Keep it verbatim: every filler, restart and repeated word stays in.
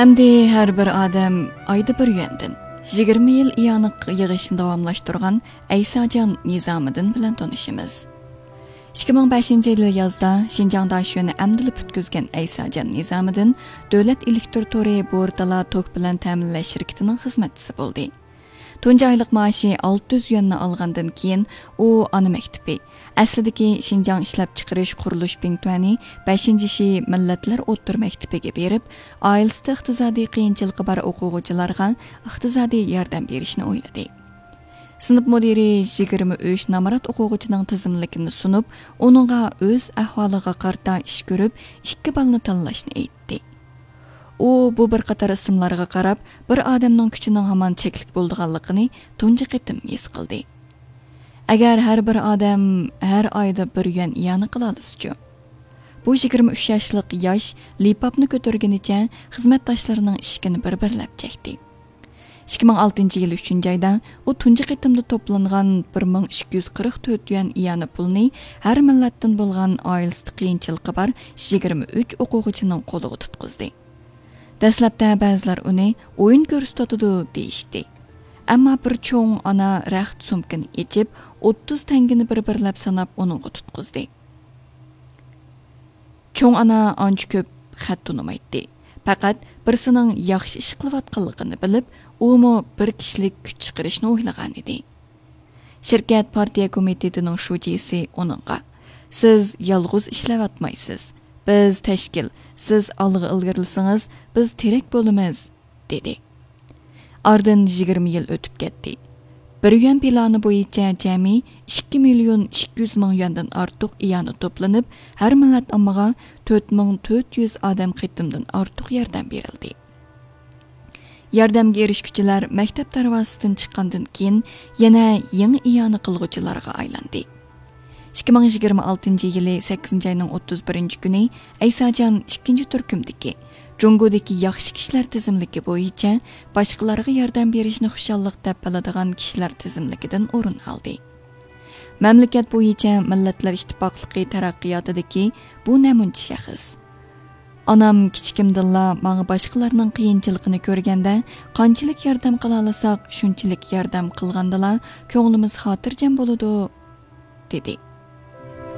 ئەمدى ھەر بىر ئادەم ئايدا بىر يۈەندىن يىگىرمە يىل ئىئانە يىغىشنى داۋاملاشتۇرغان ئەيساجان نىزامىدىن بىلەن تونۇشىمىز. ئىككى مىڭ بەشىنچى يىل يازدا شىنجاڭ داشۆنى ئەمدىلا پۈتكۈزگەن ئەيساجان نىزامىدىن دۆلەت ئېلېكتر تورى بورتالا توك بىلەن تەمىنلەش شىركىتىنىڭ خىزمەتچىسى بولدى. تۇنجى ئايلىق مائاشى ئالتە يۈز يۈەننى ئالغاندىن كېيىن، ئۇ ئانا مەكتىپى، ئەسلىدىكى شىنجاڭ ئىشلەپچىقىرىش قۇرۇلۇش بىڭتۈەنى بەشىنچى شى مىللەتلەر ئوتتۇرا مەكتىپىگە بېرىپ، ئائىلىسىدە ئىقتىسادىي قىيىنچىلىقى بار ئوقۇغۇچىلارغا ئىقتىسادىي ياردەم بېرىشنى ئويلىدى. سىنىپ مۇدىرى يىگىرمە ئۈچ نامرات ئوقۇغۇچىنىڭ تىزىملىكىنى سۇنۇپ، ئۇنىڭغا ئۆز ئەھۋالىغا قارىتا ئىش كۆرۈپ، ئىككى بالىنى تاللاشنى ئېيتتى. ئۇ بۇ بىر قاتار ئىسىملارغا قاراپ، بىر ئادەمنىڭ كۈچىنىڭ ھامان چەكلىك بولىدىغانلىقىنى تۇنجى قېتىم ھېس قىلدى. ئەگەر ھەر بىر ئادەم ھەر ئايدا بىر يۈەن ئىئانە قىلالىسىچۇ؟ بۇ يىگىرمە ئۈچ ياشلىق ياش لىپاپنى كۆتۈرگىنىچە خىزمەتداشلىرىنىڭ ئىشىكىنى بىر-بىرلەپ چەكتى. ئىككى مىڭ ئالتىنچى يىل ئۈچىنچى ئايدا ئۇ تۇنجى قېتىمدا توپلانغان بىر مىڭ ئىككى يۈز قىرىق تۆت يۈەن ئىئانە پۇلىنى ھەر مىللەتتىن بولغان ئائىلىسىدە قىيىنچىلىقى بار يىگىرمە ئۈچ ئوقۇغۇچىنىڭ قولىغا تۇتقۇزدى. دەسلەپتە بەزىلەر ئۇنى ئويۇن كۆرسىتىۋاتىدۇ دېيىشتى. ئەمما بىر چوڭ ئانا رەخت سومكىنى ئېچىپ، ئوتتۇز تەڭگىنى بىر-بىرلەپ ساناپ ئۇنىڭغا تۇتقۇزدى. چوڭ ئانا ئانچە كۆپ خەت تونۇمايتتى. پەقەت بىرسىنىڭ ياخشى ئىش قىلىۋاتقانلىقىنى بىلىپ، ئۇمۇ بىر كىشىلىك كۈچ چىقىرىشنى ئويلىغانىدى. شىركەت پارتىيە كومىتېتىنىڭ شۇجىسى ئۇنىڭغا، «سىز يالغۇز ئىشلەۋاتمايسىز. بىز تەشكىل، سىز ئالغا ئىلگىرىلىسىڭىز، بىز تىرەك بولىمىز» دېدى. ئارىدىن يىگىرمە يىل ئۆتۈپ كەتتى. بىر يۈەن پىلانى بويىچە جەمئىي ئىككى مىليون ئىككى يۈز مىڭ يۈەندىن ئارتۇق ئىئانە توپلىنىپ، ھەر مىللەت ئاممىغا تۆت مىڭ تۆت يۈز ئادەم قېتىمدىن ئارتۇق ياردەم بېرىلدى. ياردەمگە ئېرىشكۈچىلەر مەكتەپ دەرۋازىسىدىن چىققاندىن كېيىن يەنە يېڭى ئىئانە قىلغۇچىلارغا ئايلاندى. ئىككى مىڭ يىگىرمە ئالتىنچى يىلى سەككىزىنچى ئاينىڭ ئوتتۇز بىرىنچى كۈنى ئەيساجان ئىككىنچى تۈركۈمدىكى جۇڭگودىكى ياخشى كىشىلەر تىزىملىكى بويىچە باشقىلارغا ياردەم بېرىشنى خۇشاللىق دەپ بىلىدىغان كىشىلەر تىزىملىكىدىن ئورۇن ئالدى. مەملىكەت بويىچە مىللەتلەر ئىتتىپاقلىقى تەرەققىياتىدىكى بۇ نەمۇنىچە شەخس. ئانام كىچىكىمدىنلا ماڭا باشقىلارنىڭ قىيىنچىلىقىنى كۆرگەندە، قانچىلىك ياردەم قىلالىساق، شۇنچىلىك ياردەم قىلغاندىلا كۆڭلىمىز خاتىرجەم بولىدۇ، دېدى.